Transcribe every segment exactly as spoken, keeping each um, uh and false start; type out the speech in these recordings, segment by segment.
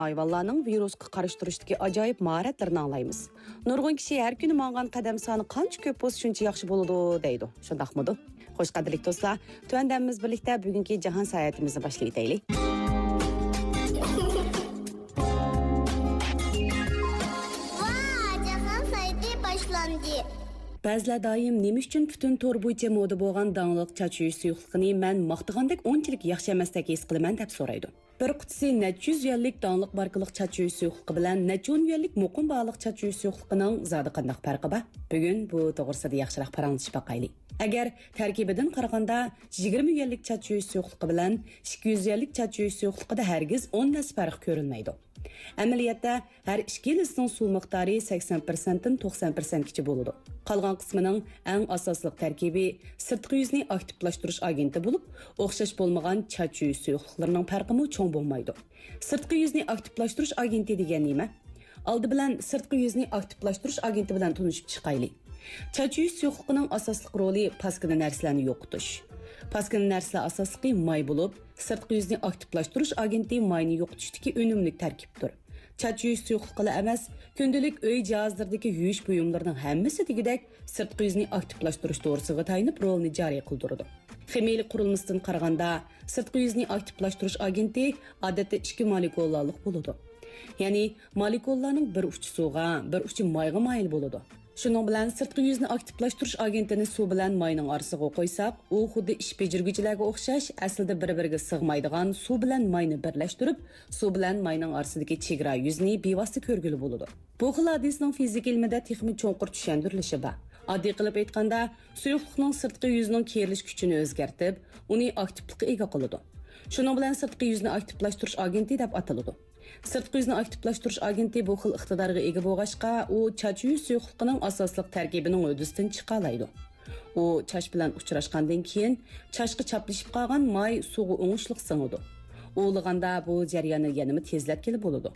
ھايۋانلارنىڭ ۋىرۇسقا قارشى تۇرۇشتىكى ئاجايىپ ماھارەتلىرىنى ئاڭلايمىز. نۇرغۇن كىشى ھەر كۈنى ماڭغان قەدەم سانى قانچە كۆپ بولسا، شۇنچە ياخشى بولىدۇ، دەيدۇ. شۇنداقمىدۇ؟ خوش، قەدىرلىك دوستلار، تۆۋەندە ھەممىمىز بىرلىكتە بۈگۈنكى جاھان ساياھىتىمىزنى باشلىۋېتەيلى. ۋا، جاھان ساياھىتى باشلاندى. بەزىلەر دائىم نېمە ئۈچۈن پۈتۈن تور بويىچە مودا بولغان داڭلىق چاچ يۇيۇش سۇيۇقلۇقىنى مەن ماختىغاندەك ئۇنچىلىك ياخشى ئەمەستەك ھېس قىلىمەن دەپ سورايدۇ. بىر قۇتىسى نەچچە يۈز يۈەنلىك داڭلىق ماركىلىق چاچ يۇيۇش سۇيۇقلۇقى بىلەن نەچچە ئون يۈەنلىك مۇقىم باھالىق چاچ يۇيۇش سۇيۇقلۇقىنىڭ زادى قانداق پەرقى بار؟ بۈگۈن بۇ توغرىسىدا ياخشىراق پاراڭلىشىپ باقايلى. ئەگەر تەركىبىدىن قارىغاندا، يىگىرمە يۈەنلىك چاچ يۇيۇش سۇيۇقلۇقى بىلەن ئىككى يۈز يۈەنلىك چاچ يۇيۇش سۇيۇقلۇقىدا ھەرگىز ئون ھەسسە پەرق كۆرۈلمەيدۇ. ئەمەلىيەتتە، ھەر ئىككىلىسىنىڭ سۇ مىقدارى سەكسەن پىرسەنتتىن توقسان پىرسەنتكىچە بولىدۇ. قالغان قىسمىنىڭ ئەڭ ئاساسلىق تەركىبى سىرتقى يۈزنى ئاكتىپلاشتۇرۇش ئاگېنتى بولۇپ، ئوخشاش بولمىغان چاچ يۇيۇش سۇيۇقلۇقلىرىنىڭ پەرقىمۇ چوڭ بولمايدۇ. سىرتقى يۈزنى ئاكتىپلاشتۇرۇش ئاگېنتى دېگەن نېمە؟ ئالدى بىلەن سىرتقى يۈزنى ئاكتىپلاشتۇرۇش ئاگېنتى بىلەن تونۇشۇپ چىقايلى. چاچ يۇيۇش سۇيۇقلۇقىنىڭ ئاساسلىق رولى پاسكىنا نەرسىلەرنى يوقىتىش. پاسكىنا نەرسىلەر ئاساسلىقى ماي بولۇپ، سىرتقى يۈزنى ئاكتىپلاشتۇرۇش ئاگېنتى ماينى يوقىتىشتىكى ئۈنۈملۈك تەركىبتۇر. چاچ يۇيۇش سۇيۇقلۇقىلا ئەمەس، كۈندىلىك ئۆي جاھازلىرىدىكى يۇيۇش بۇيۇملىرىنىڭ ھەممىسى دېگۈدەك سىرتقى يۈزنى ئاكتىپلاشتۇرۇش دورىسىغا تايىنىپ رولىنى جارى قىلدۇرىدۇ. خىمىيىلىك قۇرۇلمىسىدىن قارىغاندا، سىرتقى يۈزنى ئاكتىپلاشتۇرۇش ئاگېنتى ئادەتتە ئىككى مولېكۇلالىق بولىدۇ. يەنى مولېكۇللارنىڭ بىر ئۇچى سۇغا، بىر ئۇچى مايغا مايىل بولىدۇ. شۇنىڭ بىلەن سىرتقى يۈزنى ئاكتىپلاشتۇرۇش ئاگېنتىنى سۇ بىلەن ماينىڭ ئارىسىغا قويساق، ئۇ خۇددى ئىش بېجىرگۈچىلەرگە ئوخشاش، ئەسلىدە بىر-بىرىگە سىغمايدىغان سۇ بىلەن ماينى بىرلەشتۈرۈپ، سۇ بىلەن ماينىڭ ئارىسىدىكى چېگرا يۈزىنى بىۋاسىتە كۆرگىلى بولىدۇ. بۇ خىل ھادىسىنىڭ فىزىكا ئىلمىدە تېخىمۇ چوڭقۇر چۈشەندۈرۈلۈشى بار. ئاددىي قىلىپ ئېيتقاندا، سۇيۇقلۇقنىڭ سىرتقى يۈزىنىڭ كېرىلىش كۈچىنى ئۆزگەرتىپ، ئۇنى ئاكتىپلىققا ئىگە قىلىدۇ. شۇنىڭ بىلەن سىرتقى يۈزنى ئاكتىپلاشتۇرۇش ئاگېنتى دەپ ئاتىلىدۇ. سىرتقى يۈزنى ئاكتىپلاشتۇرۇش ئاگېنتى بۇ خىل ئىقتىدارغا ئىگە بولغاچقا، ئۇ چاچ يۇيۇش سۇيۇقلۇقىنىڭ ئاساسلىق تەركىبىنىڭ ھۆددىسىدىن چىقالايدۇ. ئۇ چاچ بىلەن ئۇچراشقاندىن كېيىن، چاچقا چاپلىشىپ قالغان ماي سۇغا ئوڭۇشلۇق سىڭىدۇ. ئۇۋىلىغاندا بۇ جەرياننى يەنىمۇ تېزلەتكىلى بولىدۇ.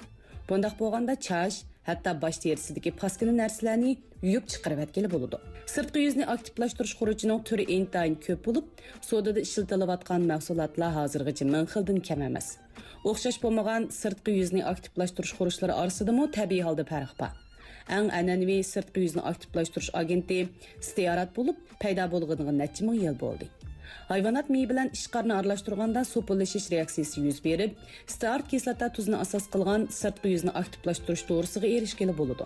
بۇنداق بولغاندا چاچ، ھەتتا باش تېرىسىدىكى پاسكىنا نەرسىلەرنى يۇيۇپ چىقىرىۋەتكىلى بولىدۇ. سىرتقى يۈزنى ئاكتىپلاشتۇرۇش خۇرۇچىنىڭ تۈرى ئىنتايىن كۆپ بولۇپ، سودىدا ئىشلىتىلىۋاتقان مەھسۇلاتلار ھازىرغىچە مىڭ خىلدىن كەم ئەمەس. ئوخشاش بولمىغان سىرتقى يۈزنى ئاكتىپلاشتۇرۇش خۇرۇچلىرى ئارىسىدىمۇ تەبىئىي ھالدا پەرق بار. ئەڭ ئەنئەنىۋى سىرتقى يۈزنى ئاكتىپلاشتۇرۇش ئاگېنتى ستېئارات بولۇپ، پەيدا بولغىنىغا نەچچە مىڭ يىل بولدى. ھايۋانات مېيى بىلەن ئىشقارنى ئارىلاشتۇرغاندا سوپۇنلىشىش رېئاكسىيىسى يۈز بېرىپ، ستېئارات كىسلاتا تۇزىنى ئاساس قىلغان سىرتقى يۈزنى ئاكتىپلاشتۇرۇش دورىسىغا ئېرىشكىلى بولىدۇ.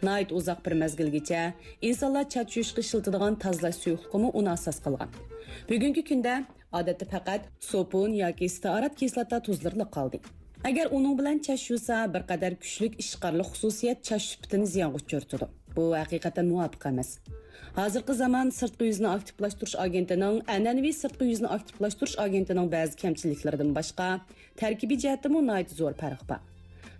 ناھايىتى ئۇزاق بىر مەزگىلگىچە ئىنسانلار چاچ يۇيۇشقا ئىشلىتىدىغان تازىلاش سۇيۇقلۇقىمۇ ئۇنى ئاساس قىلغان. بۈگۈنكى كۈندە ئادەتتە پەقەت سوپۇن ياكى ستېئارات كىسلاتا تۇزلىرىلا قالدى. ئەگەر ئۇنىڭ بىلەن چاچ يۇسا، بىر قەدەر كۈچلۈك ئىشقارلىق خۇسۇسىيەت چاچ سۈپىتىنى زىيانغا ئۇچرىتىدۇ. بۇ ھەقىقەتەن مۇۋاپىق ئەمەس. ھازىرقى زامان سىرتقى يۈزنى ئاكتىپلاشتۇرۇش ئاگېنتىنىڭ ئەنئەنىۋى سىرتقى يۈزنى ئاكتىپلاشتۇرۇش ئاگېنتىنىڭ بەزى كەمچىلىكلىرىدىن باشقا، تەركىبىي جەھەتتىمۇ ناھايىتى زور پەرق بار.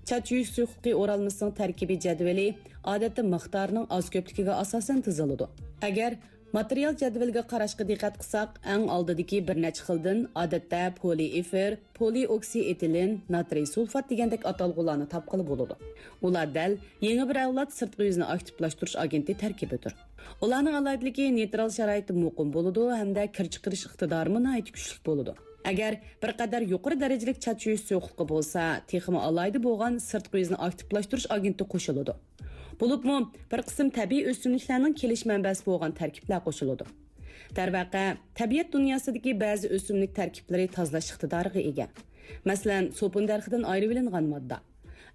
چاچ يۇيۇش سۇيۇقلۇقى ئورالمىسىنىڭ تەركىبىي جەدۋىلى ئادەتتە مىقدارىنىڭ ئاز كۆپلۈكىگە ئاساسەن تۈزۈلىدۇ. ئەگەر ماتېرىيال جەدۋىلىگە قاراشقا دىققەت قىلساق، ئەڭ ئالدىدىكى بىر نەچچە خىلدىن، ئادەتتە پولىئېفىر، پولىئوكسىئېتىلېن، ناترىي سۇلفات دېگەندەك ئاتالغۇلارنى تاپقىلى بولىدۇ. ئۇلار دەل يېڭى بىر ئەۋلاد سىرتقى يۈزنى ئاكتىپلاشتۇرۇش ئاگېنتى تەركىبىدۇر. ئۇلارنىڭ ئالاھىدىلىكى نېيترال شارائىتتا مۇقىم بولىدۇ ھەمدە كىر چىقىرىش ئىقتىدارىمۇ ناھايىتى كۈچلۈك بولىدۇ. ئەگەر بىر قەدەر يۇقىرى دەرىجىلىك چاچ يۇيۇش سۇيۇقلۇقى بولسا، تېخىمۇ ئالاھىدە بولغان سىرتقى يۈزنى ئاكتىپلاشتۇرۇش ئاگېنتى قوشۇلىدۇ. بولۇپمۇ بىر قىسىم تەبىئىي ئۆسۈملۈكلەرنىڭ كېلىش مەنبەسى بولغان تەركىبلەر قوشۇلىدۇ. دەرۋەقە، تەبىئەت دۇنياسىدىكى بەزى ئۆسۈملۈك تەركىبلىرى تازىلاش ئىقتىدارىغا ئىگە. مەسىلەن، سوپۇن دەرىخىدىن ئايرىۋېلىنغان ماددا.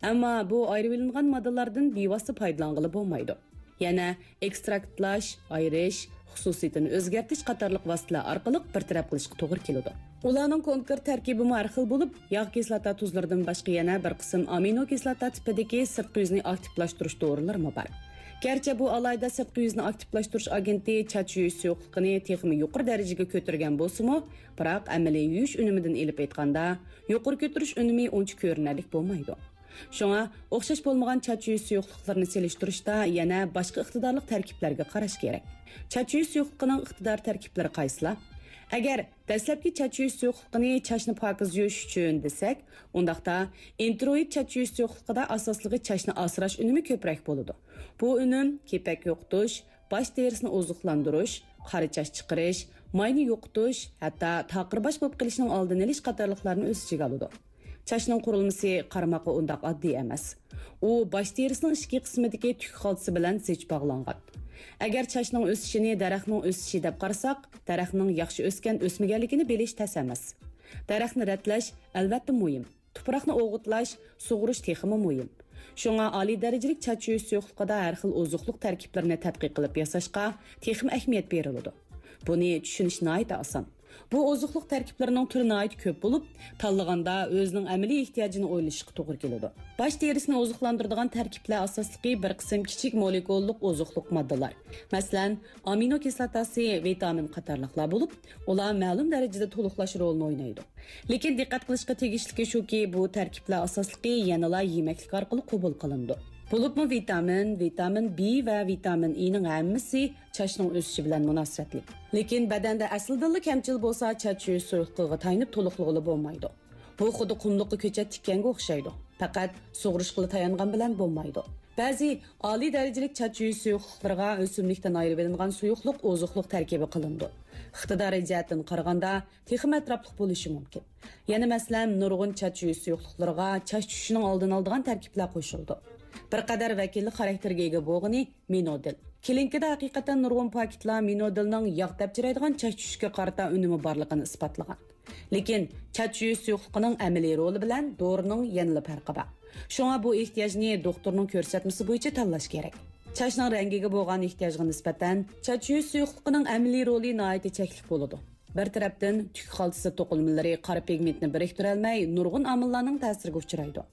ئەمما بۇ ئايرىۋېلىنغان ماددىلاردىن بىۋاسىتە پايدىلانغىلى بولمايدۇ. يەنە ئېكستراكتلاش، ئايرىش، خۇسۇسىيىتىنى ئۆزگەرتىش قاتارلىق ۋاسىتىلەر ئارقىلىق بىر تەرەپ قىلىشقا توغرا كېلىدۇ. ئۇلارنىڭ كونكرېت تەركىبىمۇ ھەر خىل بولۇپ، ياغ كىسلاتا تۇزلىرىدىن باشقا يەنە بىر قىسىم ئامىنو كىسلاتا تىپىدىكى سىرتقى يۈزنى ئاكتىپلاشتۇرۇش دورىلىرىمۇ بار. گەرچە بۇ ئالاھىدە سىرتقى يۈزنى ئاكتىپلاشتۇرۇش ئاگېنتى چاچ يۇيۇش سۇيۇقلۇقىنى تېخىمۇ يۇقىرى دەرىجىگە كۆتۈرگەن بولسىمۇ، بىراق ئەمەلىي يۇيۇش ئۈنۈمىدىن ئېلىپ ئېيتقاندا، يۇقىرى كۆتۈرۈش ئۈنۈمى ئۇنچە كۆرۈنەرلىك بولمايدۇ. شۇڭا ئوخشاش بولمىغان چاچ يۇيۇش سۇيۇقلۇقلىرىنى سېلىشتۇرۇشتا يەنە باشقا ئىقتىدارلىق تەركىبلەرگە قاراش كېرەك. چاچ يۇيۇش سۇيۇقلۇقىنىڭ ئىقتىدار تەركىبلىرى قايسىلار؟ ئەگەر دەسلەپكى چاچ يۇيۇش سۇيۇقلۇقىنى چاچنى پاكىز يۇيۇش ئۈچۈن دېسەك، ئۇنداقتا ئىنتروئىد چاچ يۇيۇش سۇيۇقلۇقىدا ئاساسلىقى چاچنى ئاسراش ئۈنۈمى كۆپرەك بولىدۇ. بۇ ئۈنۈم كېپەك يوقىتىش، باش تېرىسىنى ئوزۇقلاندۇرۇش، قارا چاچ چىقىرىش، ماينى يوقىتىش، ھەتتا تاقىر باش بولۇپ قېلىشنىڭ ئالدىنى ئېلىش قاتارلىقلارنى ئۆز ئىچىگە ئالىدۇ. چاچنىڭ قۇرۇلمىسى قارىماققا ئۇنداق ئاددىي ئەمەس. ئۇ باش تېرىسىنىڭ ئىچكى قىسمىدىكى تۈك خالتىسى بىلەن زىچ باغلانغان. ئەگەر چاچنىڭ ئۆسۈشىنى دەرەخنىڭ ئۆسۈشى دەپ قارىساق، دەرەخنىڭ ياخشى ئۆسكەن-ئۆسمىگەنلىكىنى بىلىش تەس ئەمەس. دەرەخنى رەتلەش، ئەلۋەتتە، مۇھىم. تۇپراقنى ئوغۇتلاش، سۇغۇرۇش تېخىمۇ مۇھىم. شۇڭا ئالىي دەرىجىلىك چاچ يۇيۇش سۇيۇقلۇقىدا ھەر خىل ئوزۇقلۇق تەركىبلىرىنى تەتقىق قىلىپ ياساشقا تېخىمۇ ئەھمىيەت بېرىلىدۇ. بۇنى چۈشىنىش ناھايىتى ئاسان. بۇ ئوزۇقلۇق تەركىبلىرىنىڭ تۈرى ناھايىتى كۆپ بولۇپ، تاللىغاندا ئۆزىنىڭ ئەمەلىي ئېھتىياجىنى ئويلىشىشقا توغرا كېلىدۇ. باش تېرىسىنى ئوزۇقلاندۇرىدىغان تەركىبلەر ئاساسلىقى بىر قىسىم كىچىك مولېكۇللۇق ئوزۇقلۇق ماددىلار، مەسىلەن، ئامىنو كىسلاتاسى، ۋىتامىن قاتارلىقلار بولۇپ، ئۇلار مەلۇم دەرىجىدە تولۇقلاش رولىنى ئوينايدۇ. لېكىن دىققەت قىلىشقا تېگىشلىكى شۇكى، بۇ تەركىبلەر ئاساسلىقى يەنىلا يېمەكلىك ئارقىلىق قوبۇل قىلىنىدۇ. بولۇپمۇ ۋىتامىن، ۋىتامىن بى ۋە ۋىتامىن ئېنىڭ ھەممىسى چاچنىڭ ئۆسۈشى بىلەن مۇناسىۋەتلىك. لېكىن بەدەندە ئەسلىدىنلا كەمچىل بولسا، چاچ يۇيۇش سۇيۇقلۇقىغا تايىنىپ تولۇقلىغىلى بولمايدۇ. بۇ خۇددى قۇملۇققا كۆچەت تىككەنگە ئوخشايدۇ. پەقەت سۇغۇرۇشقىلا تايانغان بىلەن بولمايدۇ. بەزى ئالىي دەرىجىلىك چاچ يۇيۇش سۇيۇقلۇقلىرىغا ئۆسۈملۈكتىن ئايرىۋېلىنغان سۇيۇقلۇق ئوزۇقلۇق تەركىبى قىلىنىدۇ. ئىقتىدارى جەھەتتىن قارىغاندا، تېخىمۇ ئەتراپلىق بولۇشى مۇمكىن. يەنە مەسىلەن، نۇرغۇن چاچ يۇيۇش سۇيۇقلۇقلىرىغا چاچ چۈشۈشىنىڭ ئالدىنى ئالىدىغان تەركىبلەر قوشۇلىدۇ. بىر قەدەر ۋەكىللىك خاراكتېرىگە ئىگە بولغىنى مىنودىل. كلىنىكىدا ھەقىقەتەن نۇرغۇن پاكىتلار مىنودىلنىڭ ياغ تەپچىرايدىغان چاچ چۈشۈشكە قارىتا ئۈنۈمى بارلىقىنى ئىسپاتلىغان. لېكىن چاچ يۇيۇش سۇيۇقلۇقىنىڭ ئەمەلىي رولى بىلەن دورىنىڭ يەنىلا پەرقى بار. شۇڭا بۇ ئېھتىياجنى دوختۇرنىڭ كۆرسەتمىسى بويىچە تاللاش كېرەك. چاچنىڭ رەڭگىگە بولغان ئېھتىياجغا نىسبەتەن، چاچ يۇيۇش سۇيۇقلۇقىنىڭ ئەمەلىي رولى ناھايىتى چەكلىك بولىدۇ. بىر تەرەپتىن، تۈك خالتىسى توقۇلمىلىرى قارا پىگمېنتنى بىرىكتۈرەلمەي، نۇرغۇن ئامىللارنىڭ تەسىرىگە ئۇچرايدۇ.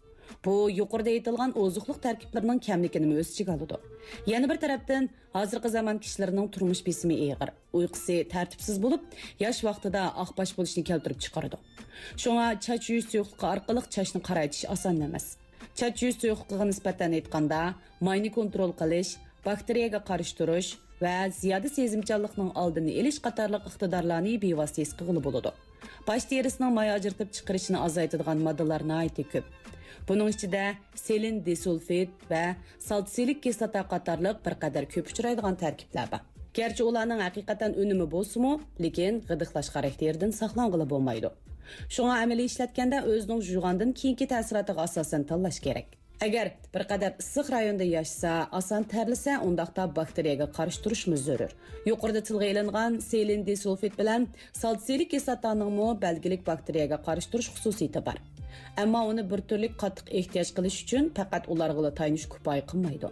بۇ يۇقىرىدا ئېيتىلغان ئوزۇقلۇق تەركىبلىرىنىڭ كەملىكىنىمۇ ئۆز ئىچىگە ئالىدۇ. يەنە بىر تەرەپتىن، ھازىرقى زامان كىشىلىرىنىڭ تۇرمۇش بېسىمى ئېغىر، ئۇيقۇسى تەرتىپسىز بولۇپ، ياش ۋاقتىدا ئاق باش بولۇشنى كەلتۈرۈپ چىقىرىدۇ. شۇڭا چاچ يۇيۇش سۇيۇقلۇقى ئارقىلىق چاچنى قارايتىش ئاسان ئەمەس. چاچ يۇيۇش سۇيۇقلۇقىغا نىسبەتەن ئېيتقاندا، ماينى كونترول قىلىش، باكتېرىيەگە قارشى تۇرۇش ۋە زىيادە سېزىمچانلىقنىڭ ئالدىنى ئېلىش قاتارلىق ئىقتىدارلارنى بىۋاسىتە ھېس قىلغىلى بولىدۇ. باش تېرىسىنىڭ ماي ئاجرىتىپ چىقىرىشىنى ئازايتىدىغان ماددىلار ناھايىتى كۆپ. بۇنىڭ ئىچىدە سېلېن دىسۇلفىد ۋە سالتسىلىك كىسلاتا قاتارلىق بىر قەدەر كۆپ ئۇچرايدىغان تەركىبلەر بار. گەرچە ئۇلارنىڭ ھەقىقەتەن ئۈنۈمى بولسىمۇ، لېكىن غىدىقلاش خاراكتېرىدىن ساقلانغىلى بولمايدۇ. شۇڭا ئەمەلىي ئىشلەتكەندە ئۆزىنىڭ جۇيغاندىن كېيىنكى تەسىراتىغا ئاساسەن تاللاش كېرەك. ئەگەر بىر قەدەر ئىسسىق رايوندا ياشىسا، ئاسان تەرلىسە، ئۇنداقتا باكتېرىيەگە قارشى تۇرۇشمۇ زۆرۈر. يۇقىرىدا تىلغا ئېلىنغان سېلېن دىسۇلفىد بىلەن سالتسىلىك كىسلاتانىڭمۇ بەلگىلىك باكتېرىيەگە قارشى تۇرۇش خۇسۇسىيىتى بار. ئەمما ئۇنى بىر تۈرلۈك قاتتىق ئېھتىياج قىلىش ئۈچۈن پەقەت ئۇلارغىلا تايىنىش كۇپايە قىلمايدۇ.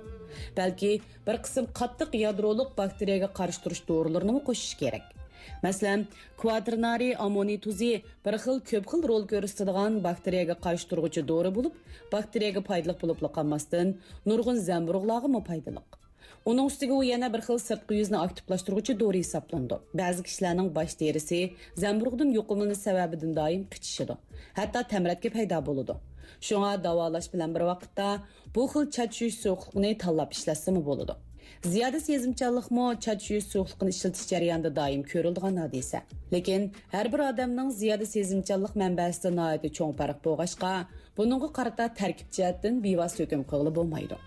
بەلكى بىر قىسىم قاتتىق يادرولۇق باكتېرىيەگە قارشى تۇرۇش دورىلىرىنىمۇ قوشۇش كېرەك. مەسىلەن، كۋاتېرنارىي ئاممونىي تۇزى بىر خىل كۆپ خىل رول كۆرسىتىدىغان باكتېرىيەگە قارشى تۇرغۇچى دورا بولۇپ، باكتېرىيەگە پايدىلىق بولۇپلا قالماستىن، نۇرغۇن زەمبۇرۇغلارغىمۇ پايدىلىق. ئۇنىڭ ئۈستىگە ئۇ يەنە بىر خىل سىرتقى يۈزنى ئاكتىپلاشتۇرغۇچى دورا ھېسابلىنىدۇ. بەزى كىشىلەرنىڭ باش تېرىسى زەمبۇرۇغدىن يۇقۇملىنىش سەۋەبىدىن دائىم قىچىشىدۇ، ھەتتا تەمرەتكە پەيدا بولىدۇ. شۇڭا داۋالاش بىلەن بىر ۋاقىتتا بۇ خىل چاچ يۇيۇش سۇيۇقلۇقىنى تاللاپ ئىشلەتسىمۇ بولىدۇ. زىيادە سېزىمچانلىقمۇ چاچ يۇيۇش سۇيۇقلۇقىنى ئىشلىتىش جەريانىدا دائىم كۆرۈلىدىغان ھادىسە. لېكىن ھەر بىر ئادەمنىڭ زىيادە سېزىمچانلىق مەنبەسىدە ناھايىتى چوڭ پەرق بولغاچقا، بۇنىڭغا قارىتا تەركىب جەھەتتىن بىۋاسىتە ھۆكۈم قىلغىلى بولمايدۇ.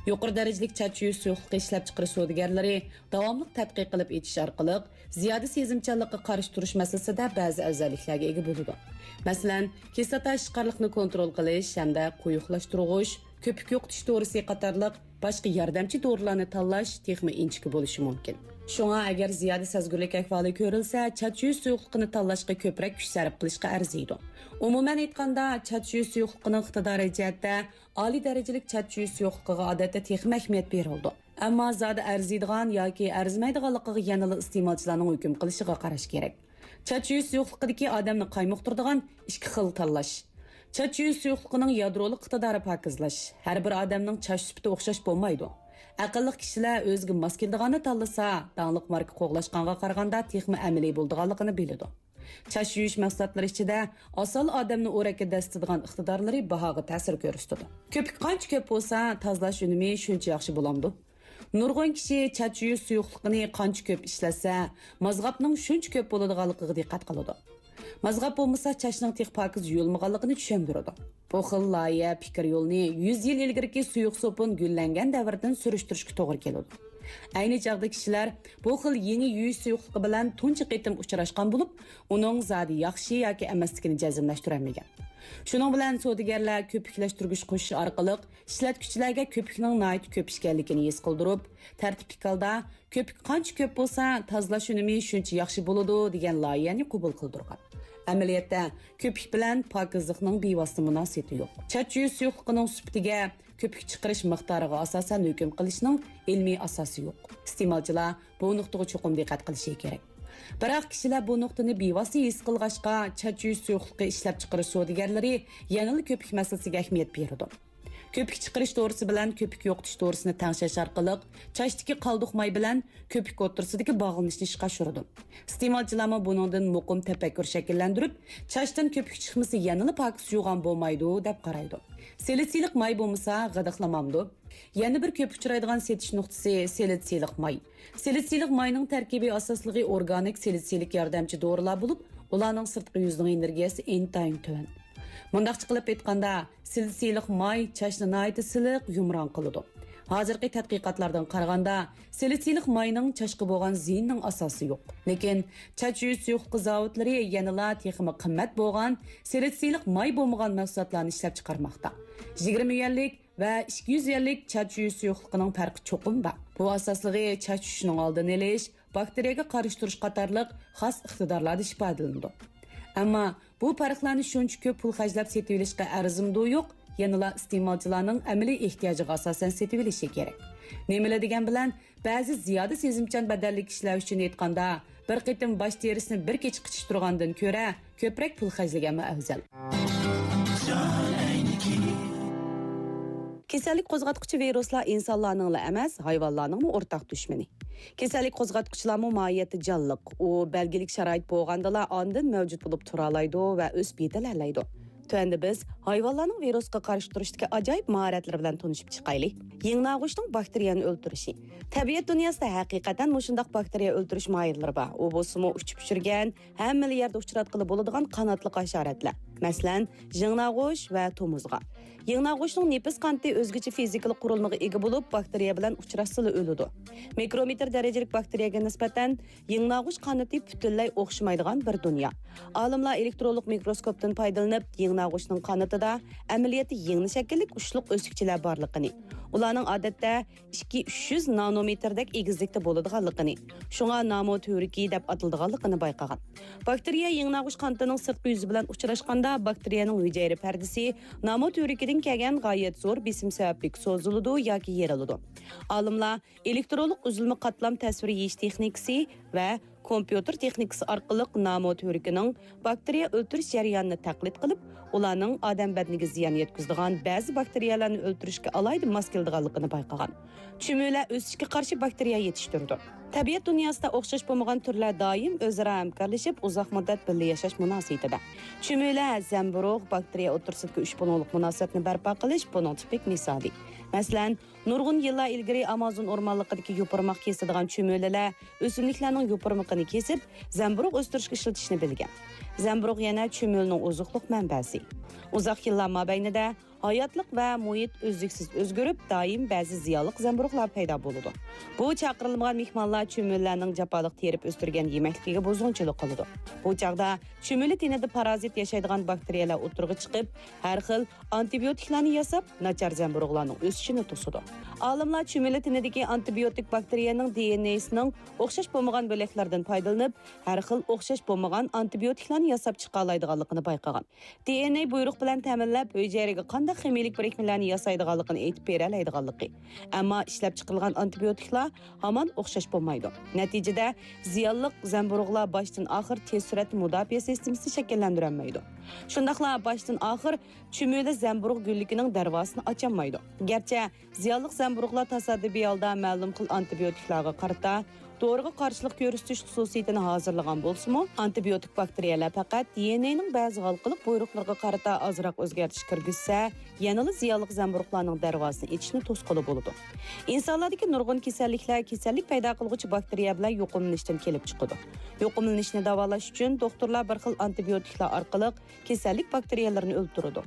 يۇقىرى دەرىجىلىك چاچ يۇيۇش سۇيۇقلۇقى ئىشلەپچىقىرىش سودىگەرلىرى داۋاملىق تەتقىق قىلىپ ئېچىش ئارقىلىق زىيادە سېزىمچانلىققا قارشى تۇرۇش مەسىلىسىدە بەزى ئەۋزەللىكلەرگە ئىگە بولىدۇ. مەسىلەن، كىسلاتا ئىشقارلىقنى كونترول قىلىش ھەمدە قويۇقلاشتۇرغۇچ، كۆپۈك يوقىتىش دورىسى قاتارلىق باشقا ياردەمچى دورىلارنى تاللاش تېخىمۇ ئىنچىكە بولۇشى مۇمكىن. شۇڭا ئەگەر زىيادە سەزگۈرلۈك ئەھۋالى كۆرۈلسە، چاچ يۇيۇش سۇيۇقلۇقىنى تاللاشقا كۆپرەك كۈچ سەرپ قىلىشقا ئەرزىيدۇ. ئومۇمەن ئېيتقاندا، چاچ يۇيۇش سۇيۇقلۇقىنىڭ ئىقتىدارى جەھەتتە ئالىي دەرىجىلىك چاچ يۇيۇش سۇيۇقلۇقىغا ئادەتتە تېخىمۇ ئەھمىيەت بېرىلىدۇ. ئەمما زادى ئەرزىيدىغان ياكى ئەرزىمەيدىغانلىقىغا يەنىلا ئىستېمالچىلارنىڭ ھۆكۈم قىلىشىغا قاراش كېرەك. چاچ يۇيۇش سۇيۇقلۇقىدىكى ئادەمنى قايمۇقتۇرىدىغان ئىككى خىل تاللاش. چاچ يۇيۇش سۇيۇقلۇقىنىڭ يادرولۇق ئىقتىدارى پاكىزلاش. ھەر بىر ئادەمنىڭ چاچ سۈپىتى ئوخشاش بولمايدۇ. ئەقىللىق كىشىلەر ئۆزىگە ماس كېلىدىغاننى تاللىسا، داڭلىق ماركا قوغلاشقانغا قارىغاندا تېخىمۇ ئەمەلىي بولىدىغانلىقىنى بىلىدۇ. چاچ يۇيۇش مەھسۇلاتلىرى ئىچىدە ئاسان ئادەمنى ئورەككە دەسسىتىدىغان ئىقتىدارلىرى باھاغا تەسىر كۆرسىتىدۇ. كۆپۈك قانچە كۆپ بولسا، تازىلاش ئۈنۈمى شۇنچە ياخشى بولامدۇ؟ نۇرغۇن كىشى چاچ يۇيۇش سۇيۇقلۇقىنى قانچە كۆپ ئىشلەتسە، مازغاپنىڭ شۇنچە كۆپ بولىدىغانلىقىغا دىققەت قىلىدۇ. مازغاپ بولمىسا، چاچنىڭ تېخى پاكىز يۇيۇلمىغانلىقىنى چۈشەندۈرىدۇ. بۇ خىل لايىھە پىكىر يولىنى يۈز يىل ئىلگىرىكى سۇيۇق سوپۇن گۈللەنگەن دەۋرىدىن سۈرۈشتۈرۈشكە توغرا كېلىدۇ. ئەينى چاغدا كىشىلەر بۇ خىل يېڭى يۇيۇش سۇيۇقلۇقى بىلەن تۇنجى قېتىم ئۇچراشقان بولۇپ، ئۇنىڭ زادى ياخشى ياكى ئەمەسلىكىنى جەزملەشتۈرەلمىگەن. شۇنىڭ بىلەن سودىگەرلەر كۆپۈكلەشتۈرگۈچ قوشۇش ئارقىلىق ئىشلەتكۈچىلەرگە كۆپۈكنىڭ ناھايىتى كۆپ ئىكەنلىكىنى ھېس قىلدۇرۇپ، تەرتىپلىك ھالدا كۆپۈك قانچە كۆپ بولسا، تازىلاش ئۈنۈمى شۇنچە ياخشى بولىدۇ، دېگەن لايىھەنى قوبۇل قىلدۇرغان. ئەمەلىيەتتە، كۆپۈك بىلەن پاكىزلىقنىڭ بىۋاسىتە مۇناسىۋىتى يوق. چاچ يۇيۇش سۇيۇقلۇقىنىڭ سۈپىتىگە، كۆپۈك چىقىرىش مىقدارىغا ئاساسەن ھۆكۈم قىلىشنىڭ ئىلمىي ئاساسى يوق. ئىستېمالچىلار بۇ نۇقتىغا چوقۇم دىققەت قىلىشى كېرەك. بىراق، كىشىلەر بۇ نۇقتىنى بىۋاسىتە ھېس قىلغاچقا، چاچ يۇيۇش سۇيۇقلۇقى ئىشلەپچىقىرىش سودىگەرلىرى يەنىلا كۆپۈك مەسىلىسىگە ئەھمىيەت بېرىدۇ. كۆپۈك چىقىرىش دورىسى بىلەن كۆپۈك يوقىتىش دورىسىنى تەڭشەش ئارقىلىق، چاچتىكى قالدۇق ماي بىلەن كۆپۈك ئوتتۇرىسىدىكى باغلىنىشنى ئىشقا ئاشۇرىدۇ. ئىستېمالچىلارمۇ بۇنىڭدىن مۇقىم تەپەككۇر شەكىللەندۈرۈپ، چاچتىن كۆپۈك چىقمىسا يەنىلا پاكىز يۇغان بولمايدۇ، دەپ قارايدۇ. سىلىتسىلىق ماي بولمىسا غىدىقلىمامدۇ؟ يەنە بىر كۆپ ئۇچرايدىغان سېتىش نۇقتىسى سىلىتسىلىق ماي. سىلىتسىلىق ماينىڭ تەركىبىي ئاساسلىقى ئورگانىك سىلىتسىلىك ياردەمچى دورىلار بولۇپ، ئۇلارنىڭ سىرتقى يۈزىنىڭ ئېنېرگىيەسى ئىنتايىن تۆۋەن. مۇنداقچە قىلىپ ئېيتقاندا، سىلىتسىلىق ماي چاچنى ناھايىتى سىلىق، يۇمران قىلىدۇ. ھازىرقى تەتقىقاتلاردىن قارىغاندا، سىلىتسىلىق ماينىڭ چاچقا بولغان زىيىنىنىڭ ئاساسى يوق. لېكىن، چاچ يۇيۇش سۇيۇقلۇقى زاۋۇتلىرى يەنىلا تېخىمۇ قىممەت بولغان سىلىتسىلىق ماي بولمىغان مەھسۇلاتلارنى ئىشلەپچىقارماقتا. يىگىرمە يۈەنلىك ۋە ئىككى يۈز يۈەنلىك چاچ يۇيۇش سۇيۇقلۇقىنىڭ پەرقى چوقۇم بار. بۇ ئاساسلىقى چاچ چۈشۈشىنىڭ ئالدىنى ئېلىش، باكتېرىيەگە قارشى تۇرۇش قاتارلىق خاس ئىقتىدارلاردا ئىپادىلىنىدۇ. ئەمما بۇ پەرقلەرنى شۇنچە كۆپ پۇل خەجلەپ سېتىۋېلىشقا ئەرزىمدۇ يوق، يەنىلا ئىستېمالچىلارنىڭ ئەمەلىي ئېھتىياجىغا ئاساسەن سېتىۋېلىشى كېرەك. نېمىلا دېگەن بىلەن، بەزى زىيادە سېزىمچان بەدەنلىك كىشىلەر ئۈچۈن ئېيتقاندا، بىر قېتىم باش تېرىسىنى بىر كېچە قىچىشتۇرغاندىن كۆرە، كۆپرەك پۇل خەجلىگەنمۇ ئەۋزەل. كېسەللىك قوزغاتقۇچى ۋىرۇسلار ئىنسانلارنىڭلا ئەمەس، ھايۋانلارنىڭمۇ ئورتاق دۈشمىنى. كېسەللىك قوزغاتقۇچىلارمۇ ماھىيەتتە جانلىق، ئۇ بەلگىلىك شارائىت بولغاندىلا ئاندىن مەۋجۇت بولۇپ تۇرالايدۇ ۋە ئۆسۈپ يېتىلەلەيدۇ. تۆۋەندە بىز ھايۋانلارنىڭ ۋىرۇسقا قارشى تۇرۇشتىكى ئاجايىپ ماھارەتلىرى بىلەن تونۇشۇپ چىقايلى. يىڭناغۇچنىڭ باكتېرىيەنى ئۆلتۈرۈشى. تەبىئەت دۇنياسىدا ھەقىقەتەن مۇشۇنداق باكتېرىيە ئۆلتۈرۈش ماھىرلىرى بار. ئۇ بولسىمۇ ئۇچۇپ يۈرگەن، ھەممىلا يەردە ئۇچراتقىلى بولىدىغان قاناتلىق ھاشاراتلار. مەسىلەن، يىڭناغۇچ ۋە تومۇزغا. يىڭناغۇچنىڭ نېپىز قانىتى ئۆزگىچە فىزىكىلىق قۇرۇلمىغا ئىگە بولۇپ، باكتېرىيە بىلەن ئۇچراشسىلا ئۆلىدۇ. مىكرومېتىر دەرىجىلىك باكتېرىيەگە نىسبەتەن يىڭناغۇچ قانىتى پۈتۈنلەي ئوخشىمايدىغان بىر دۇنيا. ئالىملار ئېلېكترونلۇق مىكروسكوپتىن پايدىلىنىپ، يىڭناغۇچنىڭ قانىتىدا ئەمەلىيەتتە يىڭنە شەكىللىك ئۇچلۇق ئۆسۈكچىلەر بارلىقىنى، ئۇلارنىڭ ئادەتتە ئىككى ئۈچ يۈز نانومېتىردەك ئېگىزلىكتە بولىدىغانلىقىنى، شۇڭا نامو تۈۋرۈكى دەپ ئاتىلىدىغانلىقىنى بايقىغان. باكتېرىيە يىڭناغۇچ قانىتىنىڭ سىرتقى يۈزى بىلەن ئۇچراشقاندا، باكتېرىيەنىڭ ھۈجەيرە پەردىسى نامو تۈۋرۈكىدىن كەلگەن غايەت زور بېسىم سەۋەبلىك سوزۇلىدۇ ياكى يېرىلىدۇ. ئالىملار ئېلېكترونلۇق ئۈزۈلمە قاتلام تەسۋىر يېيىش تېخنىكىسى ۋە كومپيۇتېر تېخنىكىسى ئارقىلىق نامو تۈۋرۈكىنىڭ باكتېرىيە ئۆلتۈرۈش جەريانىنى تەقلىد قىلىپ، ئۇلارنىڭ ئادەم بەدىنىگە زىيان يەتكۈزىدىغان بەزى باكتېرىيەلەرنى ئۆلتۈرۈشكە ئالاھىدە ماس كېلىدىغانلىقىنى بايقىغان. چۈمۈلە ئۆسۈشكە قارشى باكتېرىيە يېتىشتۈرىدۇ. تەبىئەت دۇنياسىدا ئوخشاش بولمىغان تۈرلەر دائىم ئۆزئارا ھەمكارلىشىپ، ئۇزاق مۇددەت بىللە ياشاش مۇناسىۋىتىدە. چۈمۈلە، زەمبۇرۇغ، باكتېرىيە ئوتتۇرىسىدىكى ئۈچ بۇلۇڭلۇق مۇناسىۋەتنى بەرپا قىلىش بۇنىڭ تىپىك مىسالى. مەسىلەن، نۇرغۇن يىللار ئىلگىرى ئامازون ئورمانلىقىدىكى يوپۇرماق كېسىدىغان چۈمۈلىلەر ئۆسۈملۈكلەرنىڭ يوپۇرمىقىنى كېسىپ، زەمبۇرۇغ ئۆستۈرۈشكە ئىشلىتىشنى بىلگەن. زەمبۇرۇغ يەنە چۈمۈلىنىڭ ئوزۇقلۇق مەنبەسى. ئۇزاق يىللار مابەينىدە ھاياتلىق ۋە مۇھىت ئۈزلۈكسىز ئۆزگىرىپ، دائىم بەزى زىيانلىق زەمبۇرۇغلار پەيدا بولىدۇ. بۇ چاقىرىلمىغان مېھمانلار چۈمۈلىلەرنىڭ جاپالىق تېرىپ ئۆستۈرگەن يېمەكلىكىگە بۇزغۇنچىلىق قىلىدۇ. بۇ چاغدا چۈمۈلە تېنىدە پارازىت ياشايدىغان باكتېرىيەلەر ئوتتۇرىغا چىقىپ، ھەر خىل ئانتىبىيوتىكلارنى ياساپ، ناچار زەمبۇرۇغلارنىڭ ئۆسۈشىنى توسىدۇ. ئالىملار چۈمۈلە تېنىدىكى ئانتىبىيوتىك باكتېرىيەنىڭ دى ئېن ئېسىنىڭ ئوخشاش بولمىغان بۆلەكلەردىن پايدىلىنىپ، ھەر خىل ئوخشاش بولمىغان ئانتىبىيوتىكلارنى ياساپ چىقالايدىغانلىقىنى بايقىغان. دى ئېن ئېي بۇيرۇق بىلەن تەمىنلەپ، ھۈجەيرىگە قانداق خىمىيىلىك بىرىكمىلەرنى ياسايدىغانلىقىنى ئېيتىپ بېرەلەيدىغانلىقى. ئەمما ئىشلەپچىقىرىلغان ئانتىبىيوتىكلار ھامان ئوخشاش بولمايدۇ. نەتىجىدە، زىيانلىق زەمبۇرۇغلار باشتىن ئاخىر تېز سۈرئەتتە مۇداپىئە سىستېمىسىنى شەكىللەندۈرەلمەيدۇ. شۇنداقلا باشتىن ئاخىر چۈمۈلە زەمبۇرۇغ گۈللۈكىنىڭ دەرۋازىسىنى ئاچالمايدۇ. گەرچە زىيانلىق زەمبۇرۇغلار تاسادىپىي ھالدا مەلۇم خىل ئانتىبىيوتىكلارغا قارىتا دورىغا قارشىلىق كۆرسىتىش خۇسۇسىيىتىنى ھازىرلىغان بولسىمۇ، ئانتىبىيوتىك باكتېرىيەلەر پەقەت دى ئېن ئېينىڭ بەزى ھالقىلىق بۇيرۇقلىرىغا قارىتا ئازراق ئۆزگەرتىش كىرگۈزسە، يەنىلا زىيانلىق زەمبۇرۇغلارنىڭ دەرۋازىسىنى ئېچىشنى توسقىلى بولىدۇ. ئىنسانلاردىكى نۇرغۇن كېسەللىكلەر كېسەللىك پەيدا قىلغۇچى باكتېرىيە بىلەن يۇقۇملىنىشتىن كېلىپ چىقىدۇ. يۇقۇملىنىشنى داۋالاش ئۈچۈن دوختۇرلار بىر خىل ئانتىبىيوتىكلار ئارقىلىق كېسەللىك باكتېرىيەلىرىنى ئۆلتۈرىدۇ.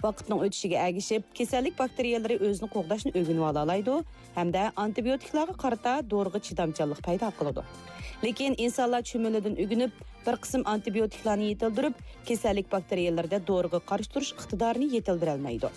ۋاقىتنىڭ ئۆتۈشىگە ئەگىشىپ، كېسەللىك باكتېرىيەلىرى ئۆزىنى قوغداشنى ئۆگىنىۋالالايدۇ ھەمدە ئانتىبىيوتىكلارغا قارىتا دورىغا چىدامچانلىق پەيدا قىلىدۇ. لېكىن ئىنسانلار چۈمۈلىدىن ئۆگىنىپ، بىر قىسىم ئانتىبىيوتىكلارنى يېتىلدۈرۈپ، كېسەللىك باكتېرىيەلىرىدە دورىغا قارشى تۇرۇش ئىقتىدارىنى يېتىلدۈرەلمەيدۇ.